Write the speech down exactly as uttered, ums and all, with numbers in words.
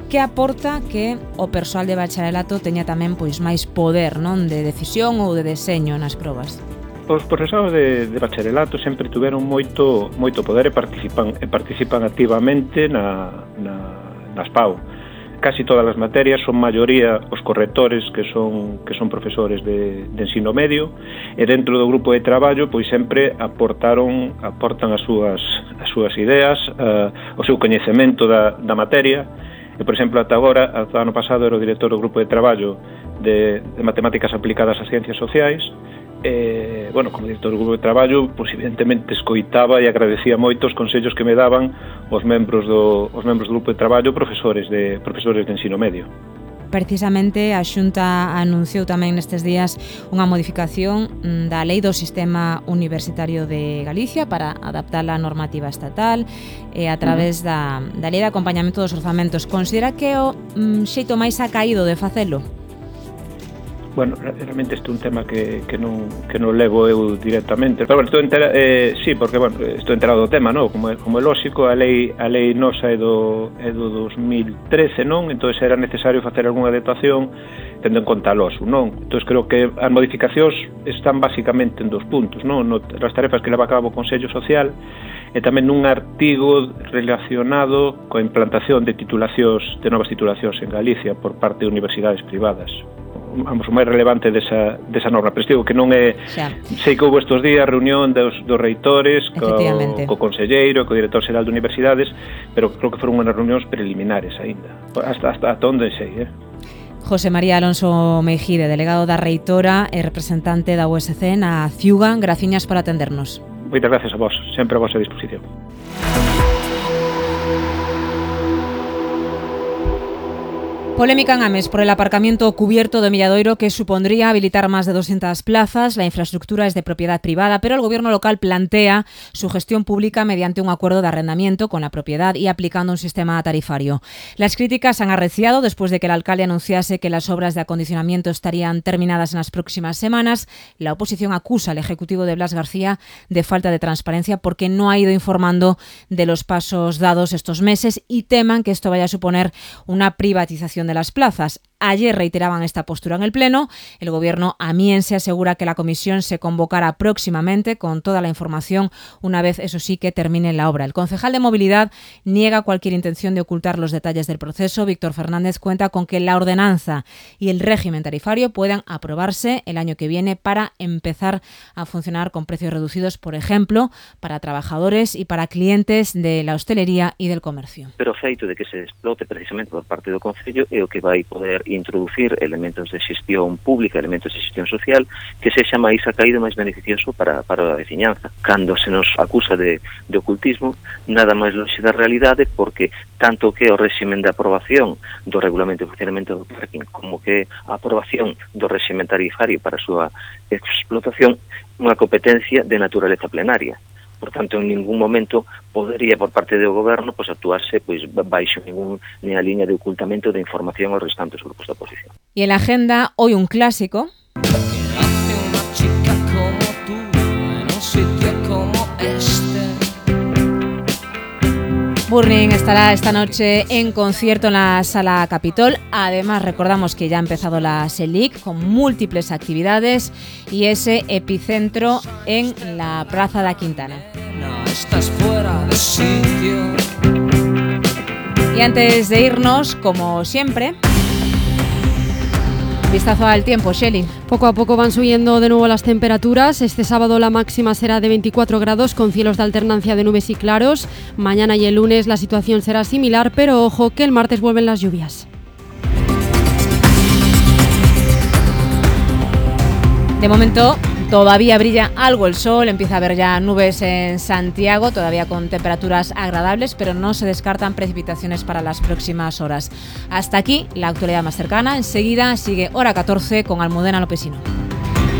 que aporta que o persoal de bacharelato teña tamén pois máis poder, non, de decisión ou de deseño nas probas. Os profesoras de, de bacharelato sempre tuveron moito moito poder e participan e participan activamente na, na, nas P A U. Casi todas as materias son maioría os correctores que son que son profesores de, de ensino medio, e dentro do grupo de traballo pois sempre aportaron aportan as súas as súas ideas, uh, o seu coñecemento da, da materia. E, por exemplo, ata agora, ata ano pasado, era o director do grupo de traballo de, de matemáticas aplicadas ás ciencias sociais. Eh, bueno, como director do grupo de traballo, pois evidentemente escoitaba e agradecía moito os consellos que me daban os membros do os membros do grupo de traballo, profesores de profesores de ensino medio. Precisamente a Xunta anunciou tamén nestes días unha modificación da Lei do Sistema Universitario de Galicia para adaptar a normativa estatal e a través da, da Lei de Acompañamento dos Orzamentos. Considera que é o mm, xeito máis acaído de facelo? Bueno, realmente este é un tema que, que, non, que non levo eu directamente. Pero bueno, estou entera, eh, sí, porque bueno, estou enterado do tema, non? Como é, como é lógico, a lei a lei nosa é do é do dos mil trece, non? Entonces era necesario facer algunha adaptación tendo en conta a losu, non? Entonces creo que as modificacións están basicamente en dos puntos, non? No, as tarefas que leva a cabo o Consello Social e tamén nun artigo relacionado coa implantación de titulacións, de novas titulacións en Galicia por parte de universidades privadas. Vamos, o máis relevante desa, desa norma, pero digo que non é, xa. Sei que houve estes días reunión dos, dos reitores co, co conselleiro, co director xeral de universidades, pero creo que foron unhas reunións preliminares aínda, hasta, hasta, hasta onde sei, eh? José María Alonso Meijide, delegado da reitora e representante da U S C na Ciuga, graciñas por atendernos. Moitas gracias a vos, sempre a vosa disposición. Polémica en Ames por el aparcamiento cubierto de Milladoiro que supondría habilitar más de doscientas plazas. La infraestructura es de propiedad privada, pero el gobierno local plantea su gestión pública mediante un acuerdo de arrendamiento con la propiedad y aplicando un sistema tarifario. Las críticas han arreciado después de que el alcalde anunciase que las obras de acondicionamiento estarían terminadas en las próximas semanas. La oposición acusa al Ejecutivo de Blas García de falta de transparencia porque no ha ido informando de los pasos dados estos meses y teman que esto vaya a suponer una privatización de las plazas. Ayer reiteraban esta postura en el Pleno. El Gobierno amiense asegura que la comisión se convocará próximamente con toda la información, una vez, eso sí, que termine la obra. El concejal de Movilidad niega cualquier intención de ocultar los detalles del proceso. Víctor Fernández cuenta con que la ordenanza y el régimen tarifario puedan aprobarse el año que viene para empezar a funcionar con precios reducidos, por ejemplo, para trabajadores y para clientes de la hostelería y del comercio. Pero o feito de que se explote precisamente por parte do Concello é o que vai poder introducir elementos de xestión pública, elementos de xestión social, que sexa máis acaído, máis beneficioso para, para a veciñanza. Cando se nos acusa de, de ocultismo, nada máis longe da realidade, porque tanto que o réximen de aprobación do regulamento de funcionamento do parking, como que a aprobación do réximen tarifario para a súa explotación, unha competencia de naturaleza plenaria. Por tanto, en ningún momento podería por parte do goberno pois actuarse pois baixo ningún nin a liña de ocultamento de información aos restantes grupos da oposición. Y en la agenda hoy un clásico. Burning estará esta noche en concierto en la Sala Capitol. Además, recordamos que ya ha empezado la SELIC con múltiples actividades y ese epicentro en la Plaza da Quintana. Y antes de irnos, como siempre, vistazo al tiempo, Shelly. Poco a poco van subiendo de nuevo las temperaturas. Este sábado la máxima será de veinticuatro grados con cielos de alternancia de nubes y claros. Mañana y el lunes la situación será similar, pero ojo que el martes vuelven las lluvias. De momento todavía brilla algo el sol, empieza a haber ya nubes en Santiago, todavía con temperaturas agradables, pero no se descartan precipitaciones para las próximas horas. Hasta aquí la actualidad más cercana. Enseguida sigue Hora catorce con Almudena Lopesino.